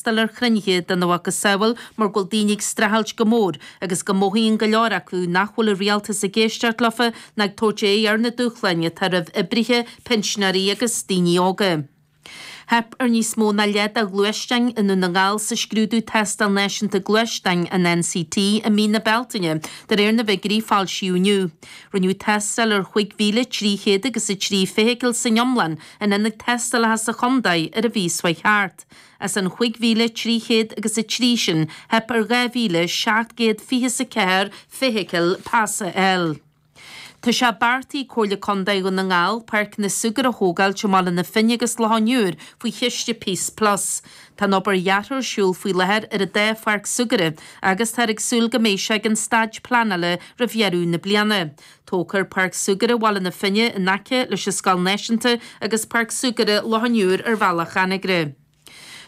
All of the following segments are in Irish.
Freastal ar chruinnithe dena mhacasamhail mar go bhfuil daoine ag streachailt go mór agus go mothaíonn go leor acu nach bhfuil an rialtas ag éisteacht leofa ná ag tabhairt aghaidh ar na dúshláin atá roimh oibrithe, pinsinéirí agus daoine óga. Theip ar níos mó ná leath de ghluaisteáin i nDún na nGall sa scrúdú Tástáil Náisiúnta Gluaisteáin, an NCT, i mí na Bealtaine, de réir na bhfigiúirí a foilsíodh inniu. Rinneadh tástáil ar 5,300 agus 3 feithicil san iomlán in ionaid tástálacha sa chontae ar an mhí seo chuaigh thart. As an 5,300 agus 3 sin, theip ar 2,724 feithicil pas a fháil. Tá sé beartaithe ag Comhairle Contae Dhún na nGall páirceanna súgartha a thógáilt i mBaile na Finne agus Loch an Iúir faoi chiste Peace Plus. Tá an obair dheartha ar siúl faoi láthair ar an dá pháirc súgartha agus táthar ag súil go mbeidh sé ag an staid pleanála roimh dheireadh na bliana. Tógfar Páirc Súgartha Bhaile na Finne in aice leis an Scoil Náisiúnta agus Páirc Súgartha Loch an Iúir ar Bhealach Anagaire.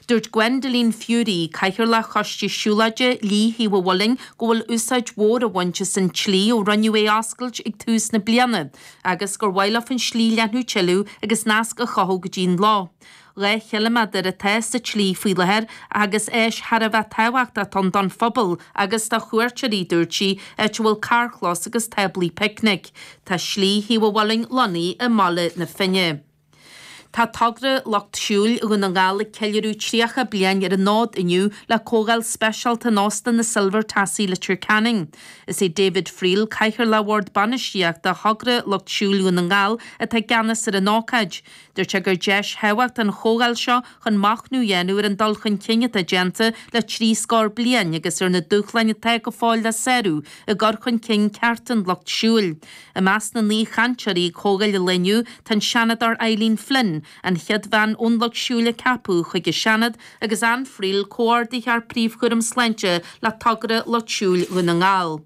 Dúirt Gwendoline Furey, Cathaoirleach Choiste Siúlóide Shlí Thaobh an Mhuilinn go bhfuil úsáid mhór á bhaint as an tslí ó rinneadh é a oscailt ag tús na bliana agus gur mhaith leo an slí a leathnú tuilleadh agus nasc a chothú go dtí an loch. 2 chiliméadar atá sa tslí faoi láthair agus áis thar a bheith tábhachtach ann don phobal agus do chuairteoirí, dúirt sí, áit a bhfuil carrchlós agus táblaí picnic. Tá Slí Thaobh an Mhuilinn lonnaithe i mBaile na Finne. Tá Togra Lucht Siúil Dhún na nGall ag ceiliúradh 30 bliain ar an fhód inniu le comhdháil speisialta in Óstán na Silver Tassie, Leitir Ceanainn. Is é David Friel, Cathaoirleach Bhord Bainistíochta Thogra Lucht Siúil Dhún na nGall, atá i gceannas ar an ócáid. Dúirt sé gur deis thábhachtach an chomhdháil seo chun machnamh a dhéanamh ar an dul chun cinn atá déanta le trí scór bliain agus ar na dúshláin atá go fóill le sárú i gcur chun cinn cearta an lucht siúil. I measc na n-aoichainteoirí ag comhdháil an lae inniu tá an Seanadóir Eileen Flynn, an chéad bhean ón lucht siúil a ceapadh chuig an Seanad, agus Ann Friel, Comhordaitheoir Príomhchúram Sláinte le Togra Lucht Siúil Dhún na nGall.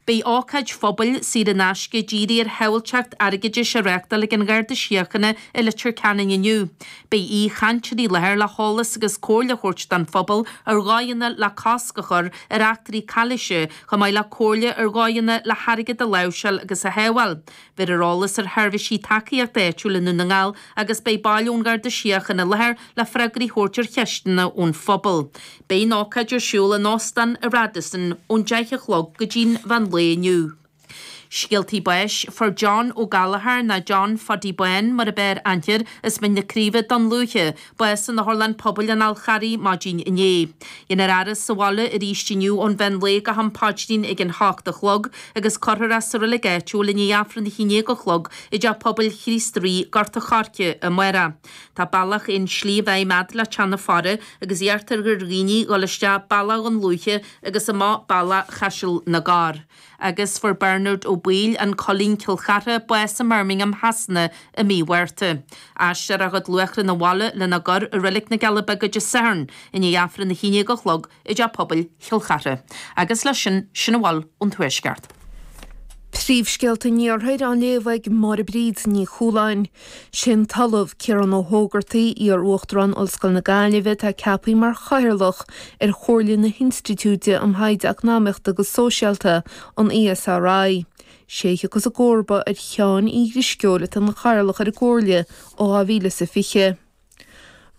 Beidh ócáid phobail saor in aisce dírithe ar shábháilteacht airgeadais á reáchtáil ag an Gharda Síochána i Leitir Ceanainn inniu. Beidh aoichainteoirí i láthair le heolas agus comhairle a thabhairt don phobal ar dhóigheanna le cosc a chur ar eachtraí calaoise, chomh maith le comhairle ar dhóigheanna le hairgead a láimhseáil agus a shábháil. Beifear eolas ar sheirbhísí tacaíochta áitiúil i nDún na nGall agus beidh baill ón Gharda Síochána i láthair le freagraí a thabhairt ar cheisteanna ón phobal. Beidh an ócáid ar siúl in Óstán an Radisson ón 10 a chlog go dtí'n mheán lae inniu. Scéaltaí báis, Fuair John Ó Gallchóir, nó John Phaddy Bán mar ab fhearr aithne air, as Mín na Craoibhe, Dún Lúiche, bás in Otharlann Pobail an Fháil Charraigh maidin inné. Déanfar a fhaire sa bhaile arís inniu ón mheán lae go ham paidrín ag an hocht a chlog agus cuirfear é sa reilig áitiúil i ndiaidh Aifreann a haon déag a chlog i dTeach Pobail Chríost Rí, Gort a' Choirce, amárach. Tá bealach aon slí i bhfeidhm fhad le Teach na Faire agus iarrtar ar dhaoine dhul isteach bealach Dhún Lúiche agus amach bealach Chaiseal na gCorr. Agus fuair Bernard Ó Baoill, An Coillín, Cill Chartha, bás i mBirmingham Shasana i mí Mhárta. Aistreofar a chuid luachrann abhaile lena gcur i Reilig na gCealla Beaga Dé Sathairn i ndiaidh Aifreann a haon déag a chlog i dTeach Pobail Chill Chartha. Agus leis sin, sin a bhfuil ón Tuaisceart. Príomhscéalta an Iarthair á léamh ag Máire Bríd Ní Chualáin. Sé an tOllamh Ciarán Ó hÓgartaigh, iar-Uachtarán Ollscoil na Gaillimhe atá ceaptha mar Chathaoirleach ar Chomhairle na hInstitiúide um Thaighde Eacnamaíochta agus Sóisialta, an ESRI. Sé a thiocfas i gcomharba ar Sheán Uí Drisceoil atá ina Chathaoirleach ar an gComhairle ó 2020.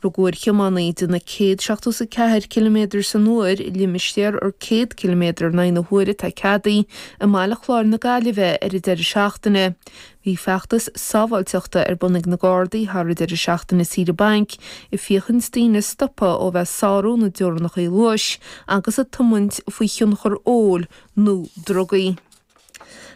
Rugadh ar thiománaí ag déanamh 174 ciliméadar san uair i limistéar ar 100 ciliméadar in aghaidh na huaire atá ceadaithe i mBaile Chláir na Gaillimhe ar an deireadh seachtaine. Bhí feachtas sábháilteachta ar bun ag na Gardaí thar an deireadh seachtaine saoire bainc ag féachaint daoine a stopadh ó bheith ag sárú na dteorainneacha luais agus ag tiomáint faoi thionchar óil nó drugaí.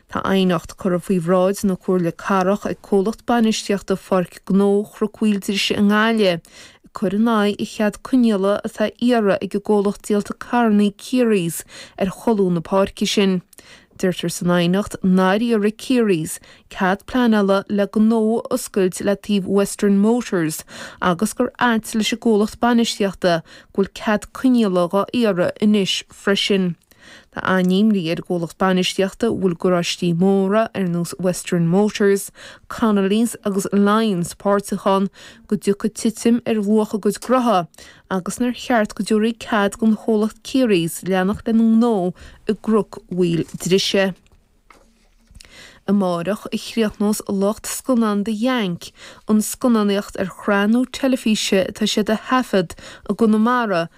Tá aighneacht curtha faoi bhráid na Comhairle Cathrach ag comhlacht bainistíochta Pháirc Gnó Chnoc Mhaoildrise i nGaillimh, ag cur in aghaidh an chead coinníollaigh atá á iarraidh ag an gcomhlacht díolta carrannaí Kearys ar cholún na páirce sin. Deirtear san aighneacht nár iarraidh Kearys cead pleanála le gnó a oscailt le taobh Western Motors agus gur ait leis an gcomhlacht bainistíochta go bhfuil cead coinníollaigh dhá iarraidh anois freisin. Tá an-imní ar an gcomhlacht bainistíochta a bhfuil garáistí móra ar nós Western Motors, Connolly's agus Lyons páirteach ann go dtiocfaidh titim ar luach a gcuid gnótha agus nár cheart go dtabharfaí cead don chomhlacht Kearys leanacht lena ngnó i gCnoc Mhaoil Drise. Amárach a chríochnós lucht scannán The Yank an scannánaíocht ar shraith nua teilifíse atá siad a thaifead i gConamara.